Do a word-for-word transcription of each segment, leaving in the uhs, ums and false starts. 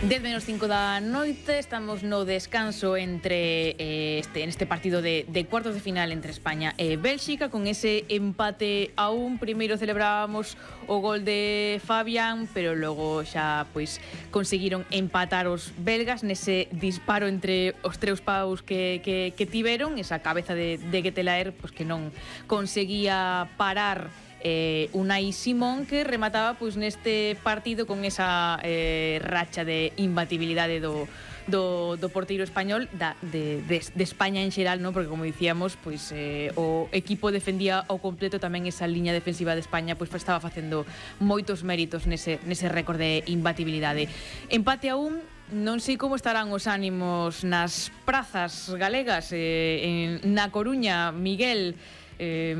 dez menos cinco da noite, estamos no descanso entre eh, este, en este partido de, de cuartos de final entre España e Bélxica, con ese empate a un. Primeiro celebrábamos o gol de Fabián, pero logo xa pois conseguiron empatar os belgas nese disparo entre os tres paus que, que, que tiveron, esa cabeza de, de Getelaer pois que non conseguía parar Eh, Unai Simón, que remataba pois neste partido con esa eh, racha de imbatibilidade do, do, do porteiro español da, de, de, de España en xeral, ¿no? Porque como dicíamos, pois eh, o equipo defendía ao completo tamén esa liña defensiva de España, pois estaba facendo moitos méritos nese, nese récord de imbatibilidade. Empate a un. Non sei como estarán os ánimos nas prazas galegas, eh, en, na Coruña, Miguel. Eh,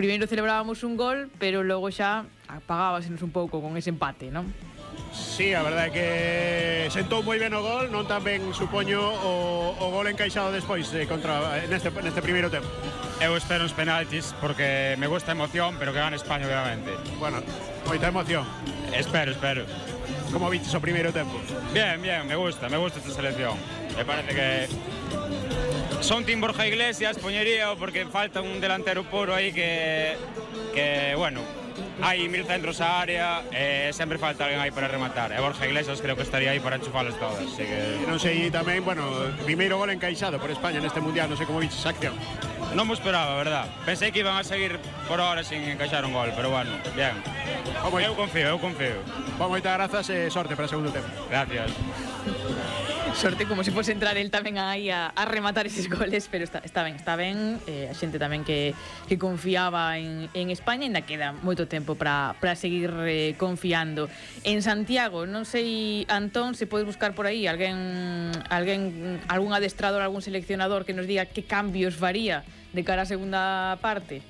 primeiro celebrábamos un gol, pero logo xa apagábasenos un pouco con ese empate, non? Sí, a verdade é que sentou moi ben o gol, non tan ben supoño o, o gol encaixado despois eh, contra, neste, neste primeiro tempo. Eu espero uns penaltis porque me gusta a emoción, pero que gane España obviamente. Bueno, moita emoción. Espero, espero. Como viches o primeiro tempo? Bien, bien, me gusta, me gusta esta selección. Me parece que son Tim Borja Iglesias, poñería porque falta un delantero puro aí que, que bueno, hai mil centros á área e sempre falta alguén aí para rematar. E Borja Iglesias creo que estaría aí para enchufalas todas. Así que non sei tamén, bueno, primeiro gol encaixado por España neste mundial, non sei como viches a acción. Non me esperaba, verdad. Pensei que iban a seguir por ahora sin encaixar un gol, pero bueno, bien. Como eu confío, eu confío. Bom, moitas grazas e sorte para o segundo tempo. Gracias. Sorte como se fose entrar el tamén aí a, a rematar eses goles, pero está, está ben, está ben. Eh, a xente tamén que, que confiaba en, en España, ainda queda moito tempo para seguir eh, confiando. En Santiago, non sei, Antón, se podes buscar por aí alguén, alguén, algún adestrador, algún seleccionador que nos diga que cambios faría de cara á segunda parte.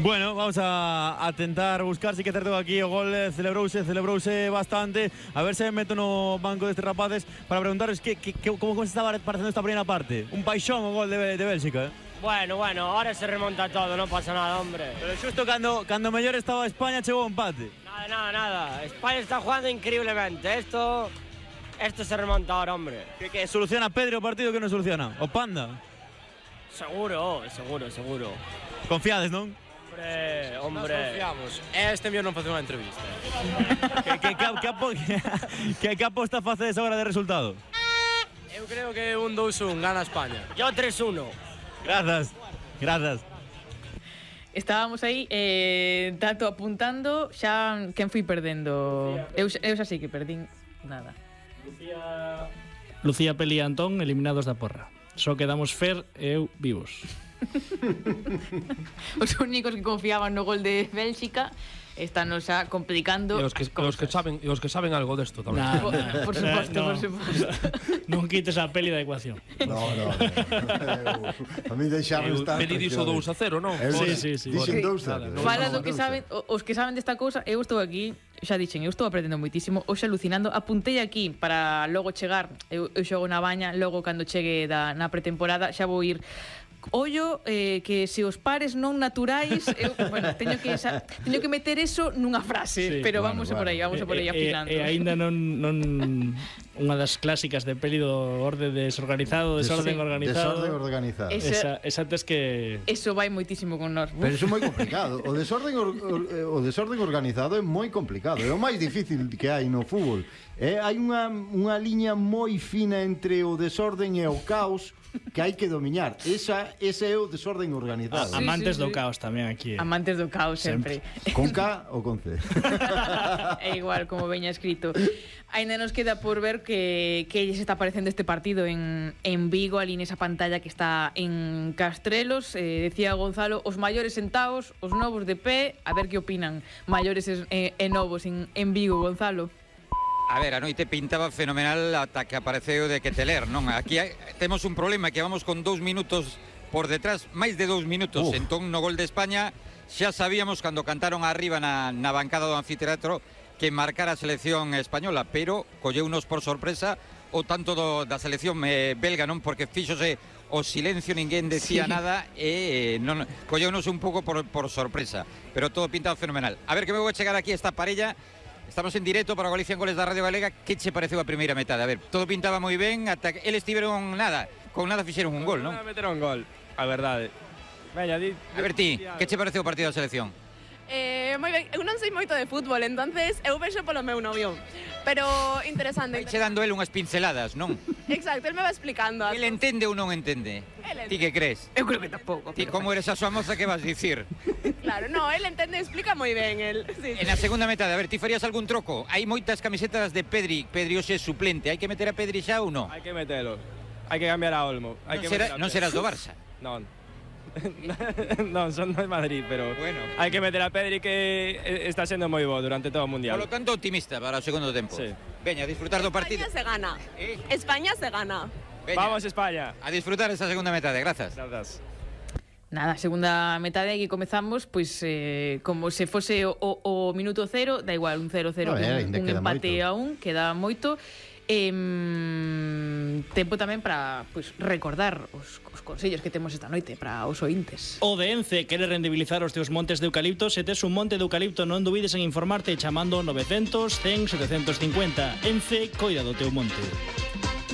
Bueno, vamos a, a tentar buscar, si que certo aquí o gol celebrouse, celebrouse bastante. A ver se me meto no banco destes rapaces para preguntaros que, que, que, como se estaba parecendo esta primeira parte. Un paixón o gol de, de Bélxica, eh? Bueno, bueno, ahora se remonta todo, non pasa nada, hombre. Pero xusto cando, cando mellor estaba España chegou o empate. Nada, nada, nada. España está jugando increíblemente. Esto, esto se remonta ahora, hombre. Que, que soluciona Pedro o partido que non soluciona? O Panda? Seguro, seguro, seguro. Confiades, non? Hombre, hombre. Nós confiamos. Este mellor non facer unha entrevista. que, que, que, que, apo, que, que aposta facedes agora de resultado? Eu creo que un dous un gana España. Yo tres uno. Grazas, grazas. Estábamos aí, eh, tanto apuntando, xa quen fui perdendo. Eu, eu xa sei que perdín nada. Lucía, Lucía Peli e Antón eliminados da porra. Só quedamos Fer e eu vivos. Os únicos que confiaban no gol de Bélxica están nos xa complicando. E os que, os que saben, e os que saben algo desto tamén. Nah, por, nah, por suposto, no. por suposto. Non quites a Peli da ecuación. No, no, no. Eu, a mí deixaron estar. Peli dixo dous a cero, non? Sí, sí, sí. Dixen dous a cero. Fala do que saben, os que saben desta cousa, eu estou aquí, xa dixen, eu estou aprendendo moitísimo, hoxe alucinando, apuntei aquí para logo chegar, eu, eu xogo na baña, logo cando chegue da, na pretemporada xa vou ir. Ollo, eh, que se os pares non naturais, eu, bueno, teño que esa, teño que meter eso nunha frase, sí, pero bueno, vamos bueno. a por aí, vamos a por aí afilando. E, e, e aínda non, non unha das clásicas de Peli do orde desorganizado, desorden Sí, organizado. Desorden organizado. Esa- Esa, esa tes que Eso vai moitísimo con nós. Pero iso é moi complicado. O desorden, or, or, o desorden organizado é moi complicado. É o máis difícil que hai no fútbol. É, hai unha, unha liña moi fina entre o desorden e o caos que hai que dominar. Esa, ese é o desorden organizado. a, amantes sí, do sí. caos tamén aquí. Amantes do caos sempre. Con K ou con C? É igual, como veña escrito. Ainda nos queda por ver que, que se está aparecendo este partido en, en Vigo, ali nesa pantalla que está en Castrelos. Eh, decía Gonzalo, os maiores sentados, os novos de pé. A ver que opinan maiores e, e novos en, en Vigo, Gonzalo. A ver, a noite pintaba fenomenal ata que apareceu de Getelaer, non? Aquí hai, temos un problema que vamos con dous minutos por detrás, máis de dous minutos. Uf. Entón, no gol de España, xa sabíamos cando cantaron arriba na, na bancada do anfiteatro que marcara a selección española, pero colleunos por sorpresa o tanto do, da selección eh, belga, non? Porque fíxose o silencio, ninguén decía sí. nada e non, colleunos un pouco por, por sorpresa, pero todo pintado fenomenal. A ver que me vou a chegar aquí esta parella Estamos en directo para Galicia en Goles da Radio Galega. Que che pareceu a primeira metade? A ver, todo pintaba moi ben, ata que eles tiveron nada, con nada fixeron un gol, non? Nada, meteron un gol, a verdade. Veña, di, A ver ti, que che pareceu o partido da selección? Eh, moi ben, eu non sei moito de fútbol, entonces eu vexo polo meu novio. Pero interesante. Che dando el unhas pinceladas, non? Exacto, él me va explicando. El entende ou non entende? Él Ti que crees? Eu creo que tampouco. Ti como eres a súa moza, que vas dicir? Claro, no, él entende, explica moi ben el. Sí, En a segunda metade, a ver, ti farías algún troco? Hai moitas camisetas de Pedri, Pedri hoxe é suplente. Hai que meter a Pedri xa ou non? hai que metelo. Hai que cambiar a Olmo. Hai Non, que será, meter a non Pedri. serás do Barça. Non. non, son de Madrid, pero Bueno. hai que meter a Pedri que eh, está sendo moi bo durante todo o Mundial. Por lo tanto, optimista para o segundo tempo. Sí. Veña, a disfrutar do partido. España se gana. Eh? España se gana. Veña, Vamos, España. a disfrutar esa segunda metade, grazas. Grazas. Nada, segunda metade aquí comezamos, pois eh, como se fose o, o, o minuto cero, da igual, un cero cero, A ver, un, ainda un queda empate moito. a un, queda moito. Eh, tempo tamén para pois, recordar os, os consellos que temos esta noite para os ointes. O de Ence quere rendibilizar os teus montes de eucalipto. Se tes un monte de eucalipto, non dubides en informarte chamando novecientos, cen, setecientos cincuenta. Ence, coida do teu monte.